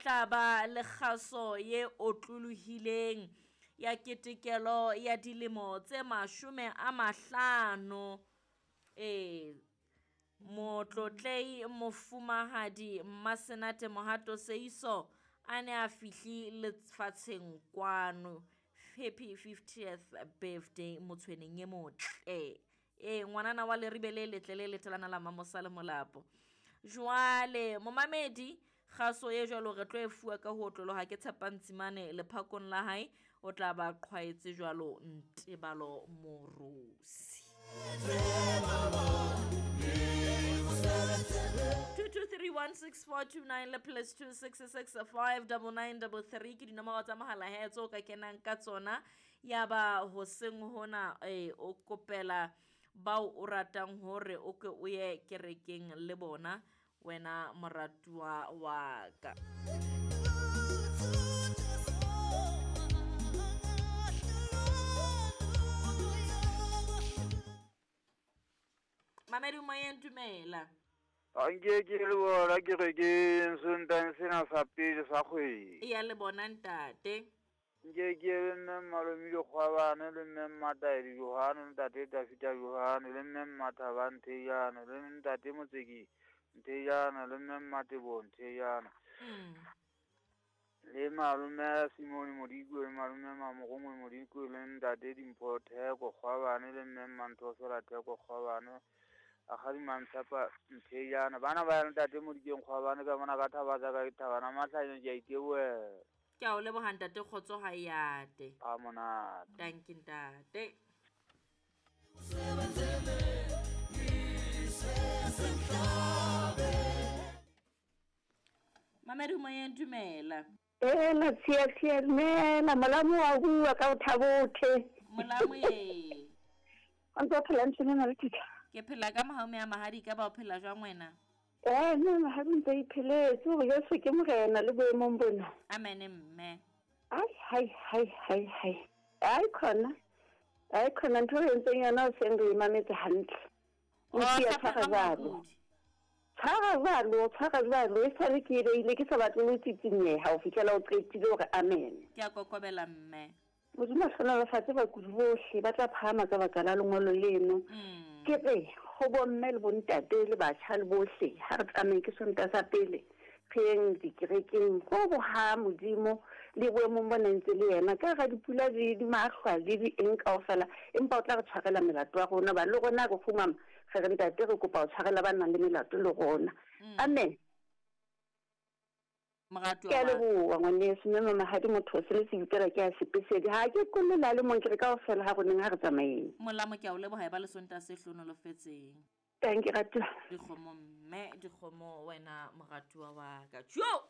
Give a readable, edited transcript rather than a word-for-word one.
tla ba le kgaso ye otlolohileng ya ketekelo ya dilemo tse 50. Ee, motlotlei mofumahadi Mmasenate Mohato Seiso a ne a fihli lefatsheng kwano. Happy 50th birthday motshweneng e motle. Ee, ngwanana wa leribe le letle le letelana la Mamosa le Molapo. Jwale momamedi kgaso e jwalo re tlo e fuwa ka ho otloloha ke Tshepang Tsimane lephakong la hae o tla ba qhwaetse jwalo Ntebalo Morusi. 22316429 le plus 26659933 ke dinomoro tsa mohala he tseo ka kenang ka tsona. Ya ba hoseng hona o kopela bao o ratang hore o ke o ye kerekeng le bona wena moratuwa wa ka. Mamedi moyeng dumela. Anke ke le bona kerekeng Sontaha sena sa pele sa kgwedi. Ya le bona ntate. Nke ke le mme Malome Dikgwabane le mme Mmataedi Johane le ntate Tafita Johane le mme Mmathaba Nthejane le ntate Motseki Nthejane le mme Mmatebo Nthejane. Le malome Simone Modikwe le malome Mamorongwe Modikwe le ntate Dimpho Theko Kgwabane le mme Mmanthofela Theko Kgwabane. Akgadi Mantshapa Nthejane. Bana ba ya ntate Modikeng Kgwabane ka mona ka thaba tsa ka thabana mahlanya ke a itebohela. Ke a o leboha ntate kgotso ha e ate. A monate. Thank you ntate. Mamedi moyeng dumela. Ela tshia tshia dumela molamu wa bua ka o thabothe. Molamu ye. O ntse o phela ntse nna le titla. Ke phela ka mohau ya mahadi ka ba o phela jwang wena? Nna mahadi ntse ipheletse hore Jesu ke morena le boemong bona. Amen mme. Ai hai hai hai hai. Ai khona. Ai khona ntho e entseng yona o seng re mametse hantle. O tshwara jwalo. Tshwara jwalo, tshwara jwalo e sale ke ile ke sa batle ho tsitsinyeha ho fihlela o qetile hore amen. Ke a kokobela mme. Modimo a hlohonolofatse bakudi bohle ba tla phahama ka baka la lengolo leno. Ke re ho bomme le bontate le batjha le bohle ha re tsamayeng ke Sontaha sa pele re yeng dikerekeng ho boha Modimo le boemong bona ntse le yena ka hara dipula di mahlwa le di eng kaofela, empa o tla re tshwarela melato ya rona ba le rona re kgumama re re ntate re kopa ho tshwarela ba nang le melato le rona. Amen. Moratuwa Ke a leboha ngwaneso mme mamahadi motho o se le sebipela ke a sepesedi ha ke kolle le mong ke re kaofela ha roneng ha re tsamayeng. Molamo ke a o leboha e ba le Sontaha se hlohonolofetseng. Thank you ratuwa. Dikgomo mme dikgomo wena moratuwa wa ka. Tjo!